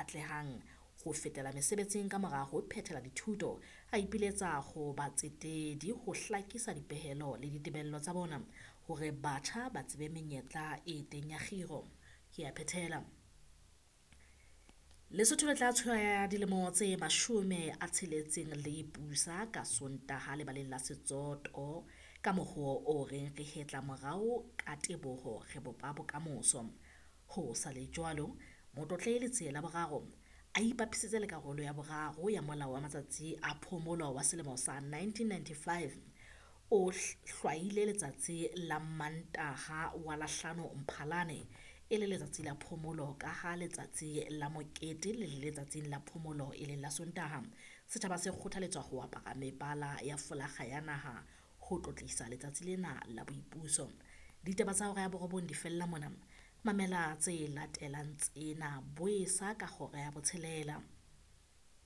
atlehang ho fetela mesebetsing ka mora ho phethela dithuto, a ipiletsa ho batsetedi ho hlakisa dipehelo le ditebello tsa bona hore batjha ba tsebe menyetla e teng ya kgiro. Ke a phethela. Lesotho le tla tshwaya dilemo tse 60 le ipusa ka Sontaha lebaleng la Setsoto ka mohoo o reng re hetla morao ka teboho re bopa bokamoso. Ho sa le jwalo, Motlotlehi Letsie la Boraro a ipapisitse le karolo ya 3 ya Molao wa Matsatsi a Phomolo wa selemo sa 1995, o hlwaile letsatsi la Mmantaha wa la 5 Mphalane e le letsatsi la phomolo kaha letsatsi la mokete le le letsatsing la phomolo e leng la Sontaha. Setjhaba se kgothaletswa ho apara mebala ya folakga ya naha ho tlotlisa letsatsi lena la boipuso. Ditaba tsa hora ya 9 di fella mona. Mamela tse latelang tsena boesa ka hora ya 6.